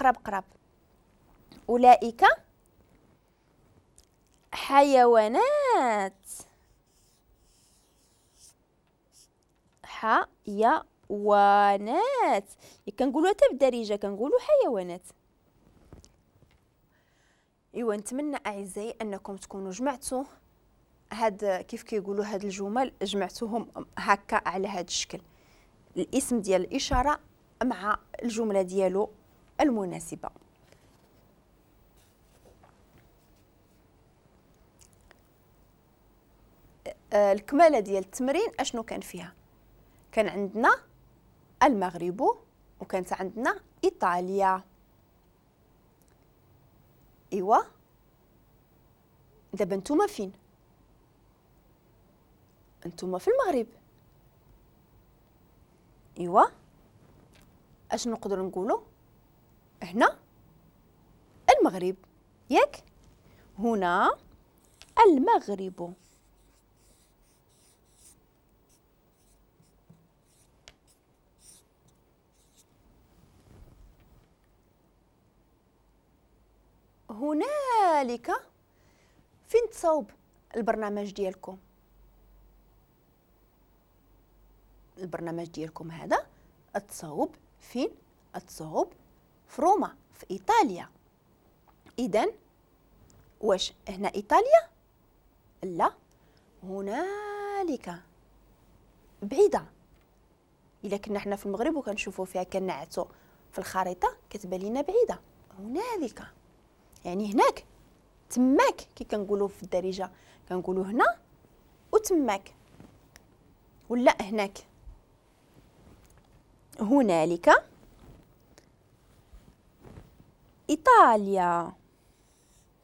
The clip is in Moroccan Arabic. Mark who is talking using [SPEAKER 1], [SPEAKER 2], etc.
[SPEAKER 1] قراب قراب. أولئك حيوانات، حيوانات، كنقولوا حتى بالدارجة كنقولوا حيوانات. ايوا نتمنى اعزائي انكم تكونوا جمعتوا هاد كيف كيقولوا هاد الجمل، جمعتوهم هكا على هاد الشكل، الاسم ديال الاشارة مع الجملة ديالو المناسبة. الكماله ديال التمرين اشنو كان فيها؟ كان عندنا المغرب وكانت عندنا ايطاليا. ايوا دابا نتوما فين؟ نتوما في المغرب. ايوا اش نقدروا نقولوا هنا؟ المغرب، ياك؟ هنا المغرب. هنالك فين تصوب البرنامج ديالكم؟ البرنامج ديالكم هذا تصوب فين؟ تصوب في روما، في إيطاليا. إذن واش هنا إيطاليا؟ لا، هنالك بعيدة. إلا كنا حنا في المغرب وكنشوفوا فيها كنعتو في الخريطة كتبان لينا بعيدة. هنالك يعني هناك، تماك، كي كنقولوا في الدارجة كنقولوا هنا وتماك، ولا هناك. هنالك إيطاليا.